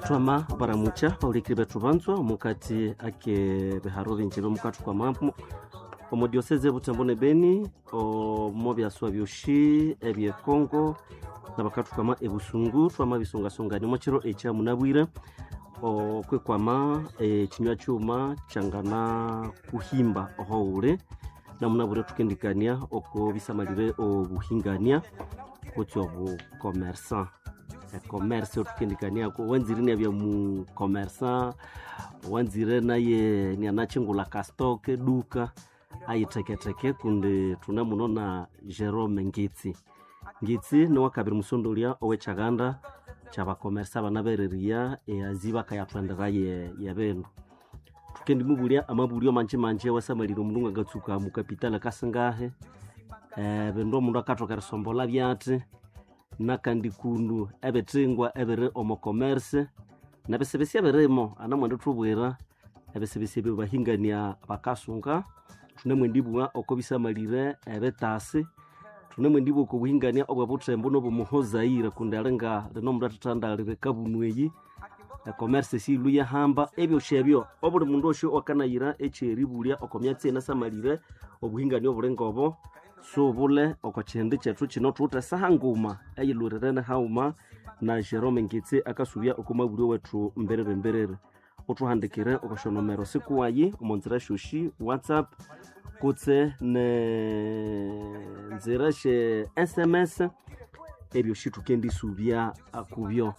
Twama baramucha baulikiri bethu banzwa omukati ake biharo binji byomukathu kwa mambo omo diocese Butembo ne Beni, omo byaswa byoshi ebye Congo nabakathukwama ebusungu. Twama bisungasungania omo kiro ekya munabwire okwikwama ekinywa kyuma kyangana kuhimba ohoghuli. Namunabwire thukendikania oko bisamalire obuhingania kutse obukomersa, ecommerce othukendikaniako. Wanzire inabya mukomersa, wanzire naye inianakyingulha kastock eduka ayitheketheke, kundi thune muno na Jerome Ngitsi. Ngitsi niwakabiri musondolya owekyaganda kyabakomersa abanabereriya eazi bakayathendera yebindu. Thukendimubulya amabulyo manji manji awasamalire omundu ngangatsuka mukapitali akasingahi, ebindu omundu akathoka erisombolha byathi, nakandi kundu ebithingwa ebiri omo commerce nebisibisi ebirimo. Anamwendithubwira ebisibisi ebyo bahingania bakasunga. Thunemwendibugha oko bisamalire ebitasi, thunemwendibugha oko buhingania obwebuthembo nobomuhozaire, kundi alinga lino omundu athathandalira ekabunu eyi ecommerce siyilwe yahamba. Ebyosi ebyo obuli mundu osi owakanayira ekyeribulya oko myatsi enasamalire obuhingania obuli ngobo subule oko kihindi kyethu kino. Thuwithe esaha nguma eyilhurirene haghuma na Jerome Ngitsi akasubya oko mabulyo wethu mbiriri mbiriri. Uthuhandikire oko syonomero sikuwayi omo nzira syosi, WhatsApp kutse ne nzira sye SMS, ebyosi thukendisubya kubyo.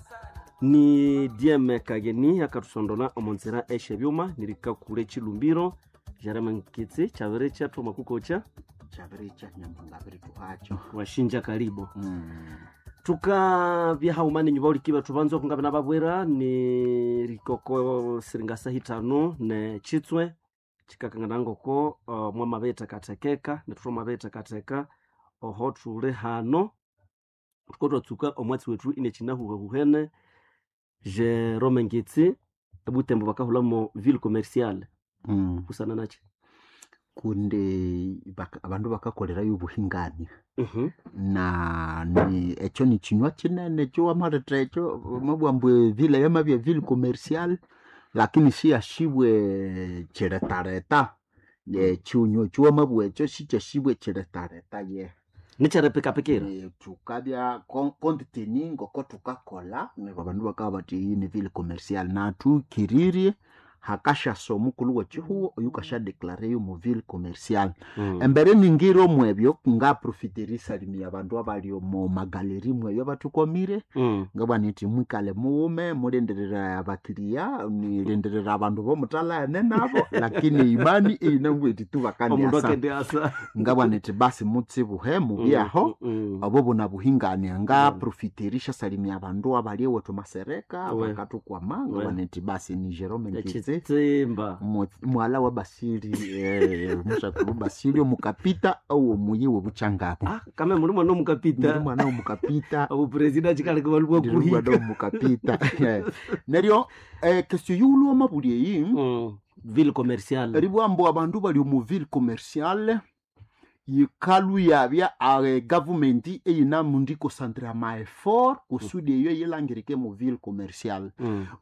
Ni Dieme Kageni akathusondola omo nzira esyebyuma nirikakura ekilumbiro. Jerome Ngitsi, kyabiri kyathu makukocha. Kyabiricha nyamuhanga abirituhakyo. Washinja karibu. Tukabya haghuma nenyu baulikiri bethu banza okunga nababwira ni rikoko siringa saha ithanu ne kitswe kikakangana ngoko mwamabiyithekathekeka, nethu thwamabiyithekatheka oho thuli hano thuko twatsuka omwatsi wethu inekinahuhahuhene. Jerome Ngitsi, ebutembo bakahulamo ville commerciale, busana nakyi? Kundi abandu bakakolerayo obuhingania na ni ekyo nikinywa kinene ekyo wamaletha ekyo wamabugha ambu eville yamabya ville commercial, lakini siyasibwe kiretareta. Ekinywa ekyo wamabugha ekyo sikyasibwe kiretareta ye. Nikyeripikapikira. Thukabya compte tenu ngoko thukakolha neryo abandu bakabugha bathi eyi ni ville commercial. Nathukiririe hakasyasa omukulhu wekihugho oyukasya omu ville commercial. Embere ningira omwebyo ngaprofita erisalimia abandu abali omo magaleri mweyo abathukwamire. Ngabugha nithi mwikale mughume mulindirire abakiriya, nirindirira abandu bomuthalahene nabo, lakini imani iyinabugha ithi tu omundu bakandiasa. Akendiasa. Ngabugha nithi basi mutsibuhe mubyeho obo bunabuhingania. Ngaprofita erisyasalimia abandu abali ewethu Masereka bakathukwama. Ngabugha nithi basi ni Jerome Ngitsi, ekitsimba, mwala wa Basili, musakulu Basili omukapita owomuyi wobukyangabo. Ah, kame muli mwana Ndi omukapita. mwana womukapita. Obupresida kikaleka balibwa Ndi mwana kuhika. womukapita. Neryo question yiwulhu wamabulya eyi, Ville commerciale, eribugha ambu abandu bali omu ville commerciale yikalu yabya government eyinamundi concentra ama effort kusudi eyo eyilangirike mu ville commerciale.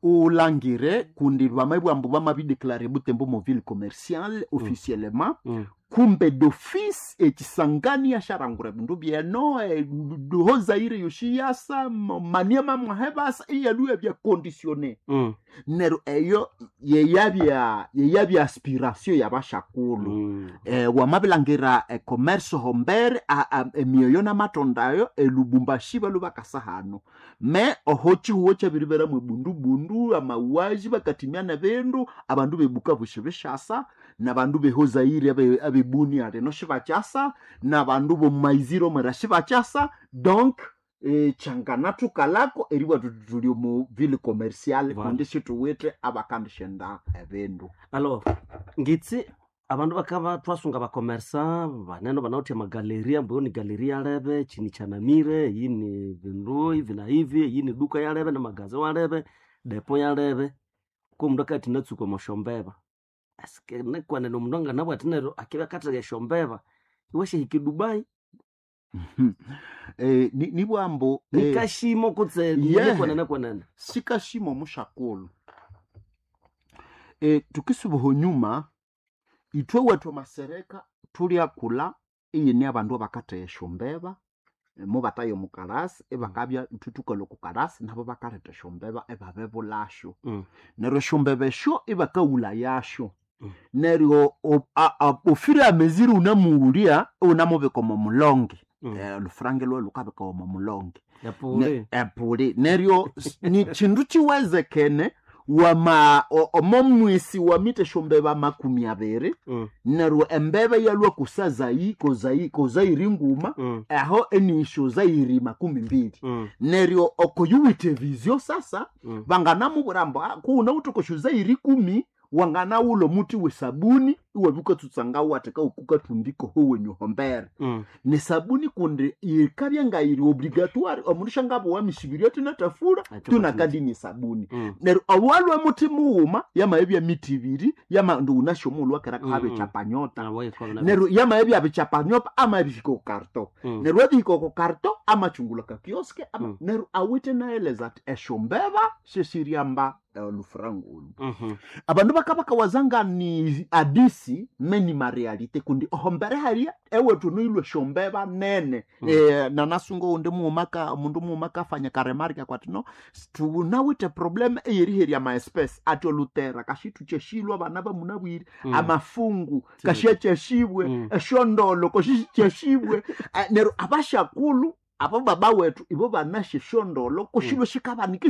Ulangire kundi bamabugha ambu bamabideclare Butembo mu ville commerciale officiellement, kumbe d'office ekisangani yasharangura ebindu byeno, duhozaire yoshi yasa Maniema mwahebasa iyalhuya bya conditionné. Neryo eyo yeyabya aspiration yabashakulhu. Wamabilangira ecommerce hombere emyoyo namatondayo elubumbashi balhu bakasa hano me oho kihugho kyabiriberamu ebundubundu amauaji bakatimya nebindu abandu bebukavu sibishasa nabandu behozaire abebunia lino sibakyasa nabandu bomumaiziro mwera sibakyasa. Donc kyanganathukalako eribugha thuthi thuli omu ville commerciale, Voilà. kundi sithuwithe abakandishenda ebindu. Alors Ngitsi, abandu bakaba twasunga bakomersa banene banawithe amagaleria, mbu ni galeria yalebe kini kyanamire, eyi ni bindu hivi na hivi, eyi ni duka yalebe namagaza walebe depo yalebe ko omundu akathi natsuka omwasyombeba asike nikwenene omundu anganabugha athi neryo akibya akatheka esyombeba iwasyahika edubai. Nibwambo Nikashimo kutse Yeah. nikwenene kwenene. Sikashimo mushakulu. Tukisubuho nyuma, ithwe wethu masereka tulyakula iyine abandu abakatheya esyombeba, mubataya omukalasi ibakabya ithwe thukalhwa oko kalasi nabo bakaletha esyombeba ibabibulasyo. Neryo esyombeba esyo ibakawulayasyo. Neryo ofire ameziri wunamughulya iwunamubika omo mulonge. Olhufurange lwawu lhukabikawa omo mulonge. Epuli. Epuli. Neryo ni kindu kiwezekene wama omo mwisi wamitha esyombeba 20, neryo embeba iyalhwa kozayiri nguma, aho enisyo zayiri 20. Neryo oko yuwithe vizio sasa, banganamubwira ambu kuwunawithe okosyo zayiri 10, wanganawulha omuthi wesabuni iwabya wukatsutsanga watheka wukukathundika ohowenyu hombere. Nesabuni kundi yikabya ngayiri obligatoire, omundu syangabuwa misibiryo athinathafura tunakadinya esabuni. Neryo owalhwa muthi mughuma yamabya miti ibiri, yama ndi wunasi omughulhu wakera kahabya ekyapanyota. Neryo yamabya bikyapanyota amabihika oko karto. Neryo abihika oko karto amakyungulha kakioske ama, neryo awithe naeleza athi esyombeba syesiryamba olufuranga olu. Abandu bakabakawaza nga ni adisi meni marealite, kundi ohombere haria ewethu noilwe esyombeba nene. Nanasunga owundi mughuma omundu mughuma kafanya karemarika kwati no tunawithe probleme eyeriherya amaespesi ati olutera kashithukyashilwe abana bamunabwire, amafungu kashakyashibwe, esyondolo koshikyashibwe. Neryo abashakulhu abo baba wethu ibo banasya esyondolo koshilwe shikabanika.